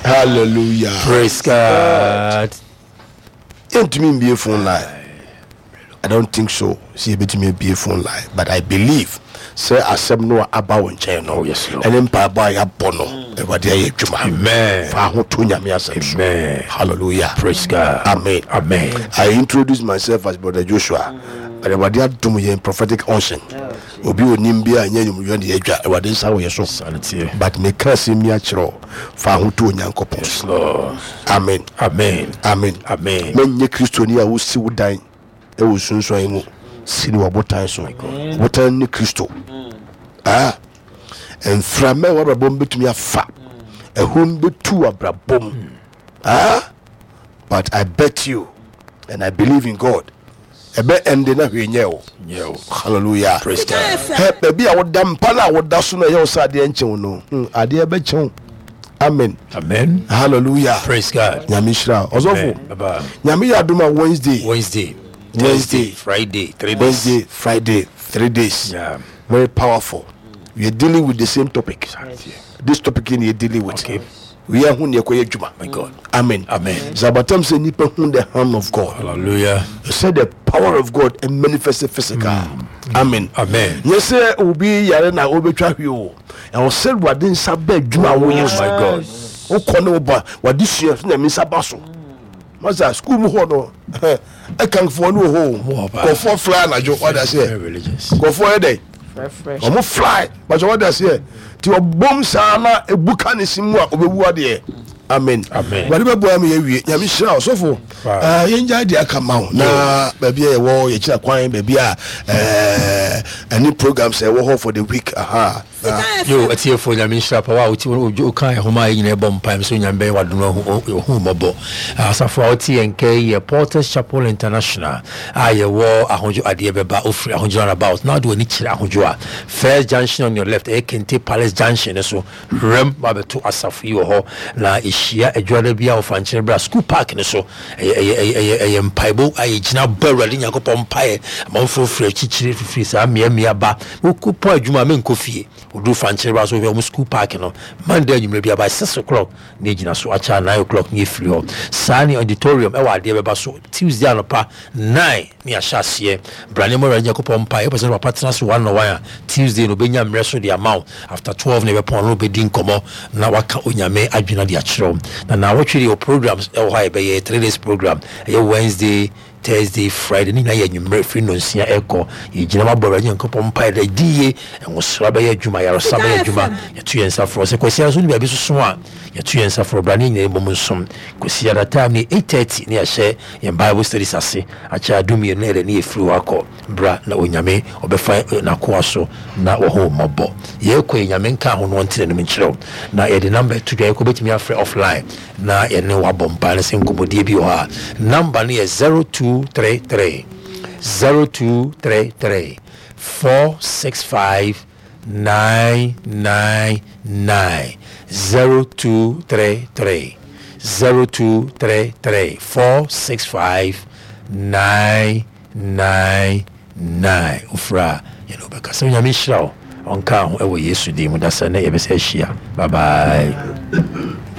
Hallelujah. Praise God. Yɛntumi mbie phone line. I don't think so. Sɛ yɛbɛtumi abie phone line but I believe sɛ asɛm no a aba wo nkyɛn no oh, yes, Lord. ɛne mpaebɔ a yɛabɔ no Awurade ayɛ adwuma. Amen. Fa ho to Nyame asɛm so. Amen. Hallelujah. Praise God. Amen. Amen. I introduce myself as Brother Joshua. But Awurade adom yɛn prophetic unction. Obi onim bi a nyɛ nwumuyɔ ne yɛadwa Awurade nsa wɔ yɛ so. But meka asɛm yi akyerɛ wo. Fa ho to Onyankopɔn so. Amen. Amen. Amen. Amen. Mɛnyɛ Kristoni a wosi wo dan wɔ sunsuan mu. Si no wɔ botan so. Botan ne Kristo. Ah. Mframa ɛwɔ abrabɔ mu bɛtumi afa. Ɛhum bɛtu abrabɔ mu. Ah. But I bet you and I believe in God. Ɛbɛ ɛnde na hwee nyɛ o. Hallelujah. Praise God. Hɛ baabi a woda mpa no a woda so no ɛyɛ wo sɛ adeɛ nkyew no. Hmm, adeɛ bɛkyew. Amen. Amen. Hallelujah. Praise God. Nyame hyira. Ɔsɔfo. Baba. Nyame yɛ adom a Wednesday. Wednesday. Wednesday. Friday. 3 days. Wednesday, Friday, 3 days. Yeah. Very powerful. We are dealing with the same topic. This topic we are dealing with. Okay. We are who ne ɛkɔyɛ adwuma. My God. Amen. Amen. It's about time sɛ nipa hu the hand of God. Hallelujah. Sɛ the power of God and manifest physical. Amen. Amen. Nyɛ sɛ obi yare na obetwa hwi o. Ɛwɔ sɛ Awurade nsa bɛ adwuma a woyɛ so. My God. Wokɔ ne woba wade sua so nyame nsa ba so. Masa school mu hɔ no ɛkanfoɔ no wɔ hɔ o. Nkurɔfoɔ fly anadwo wade aseɛ. Nkurɔfoɔ yɛ dɛ. Wɔn fly bàtɛ wade aseɛ. Ti ɔbom saa na ebu ka ne si mu a obewu adeɛ. Amen. Amen. Wade bɛ bɔ ama yɛ wie. Nyame hyira ɔsɔfo. Eh, yɛn gya di aka ma wo na baabi a yɛwɔ yɛkyerɛ kwan baabi a eh, ɛne programs a ɛwɔ hɔ for the week aha. Yo, atiefo Nyame nhyira pa wa wote woka ɛhoma a yɛnyina ɛbɔ mpae sɛ Onyame bɛyɛ wadom ahu mmɔbɔ. Asafo a wote yɛn nka yi yɛ Porters Chapel International a yɛwɔ Ahodwo adeɛ bɛba ofiri Ahodwo roundabout na wode w'ani kyerɛ Ahodwo a first junction on your left ɛyɛ Kente Palace junction no so hwɛm wabɛto asafo yi wɔ hɔ na yɛhyia adwuada bi a wɔfa nkyɛn bra school park no so ɛyɛ ɛyɛ ɛyɛ ɛyɛ ɛyɛ mpaebɔ a yɛgyina bɔ Awurade Nyankopɔn mpaeɛ amanfoɔ firi akyikyiri fifiri saa mmeammea ba Wokɔ adwuma a menkɔ fie. Woduru Fankyere ba so wohwɛ wɔn school park no. Monday anwummerɛ biara by 6 o'clock na yɛgyina so akyɛ a 9 o'clock na yɛfiri hɔ. Saa ne auditorium ɛwɔ adeɛ bɛba so Tuesday anɔpa 9 na yɛahyɛ aseɛ. Bra ne mmɔ Awurade Nyankopɔn mpaeɛ. Wopɛ sɛ papa tena so one on one a Tuesday no ɔbɛnya mmerɛ so de ama wo. After 12 na yɛbɛpɔn no wobɛdi nkɔmmɔ na waka Onyame adwene de akyerɛ wo. Na naawɔtwe deɛ wɔ programs ɛwɔ hɔ a yɛbɛyɛ 3 days program. Ɛyɛ Wednesday, Thursday, Friday ne nyinaa yɛ anwummerɛ firi nnɔnsia ɛkɔ. Yɛgyina mu abɔ Awurade Nyankopɔn mpaeɛ dɛ di yie, nwosra bɛyɛ adwuma, ayaresa bɛyɛ adwuma. Yɛto yɛn nsa frɛ sɛ Kwasiada nso ne baabi soso a yɛto yɛn nsa frɛ bra ne nyinaa mmom nsom. Kwasiada time ne 8:30 ne yɛahyɛ yɛn Bible studies ase. Akyɛ a 12 na yɛde ne yɛfiri hɔ akɔ. Bra na Onyame ɔbɛfa n'akoa so na wahu wo mmɔbɔ. Yɛkɔ yi Nyame nka ho na ɔnte n'anim nkyerɛ wo. Na yɛde number to dwa yɛkɔ bɛtumi afrɛ offline na yɛne wo abɔ mpae no sɛ nkɔmmɔdie bi wɔ hɔ a number no yɛ 0233 0233 465 999 0233 0233 465 999 wofrɛ a yɛne wobɛka sɛ Onyame nhyira wo ɔnka ho ɛwɔ Yesu din mu da sɛ ne yɛbɛsɛ ahyia. Bye bye.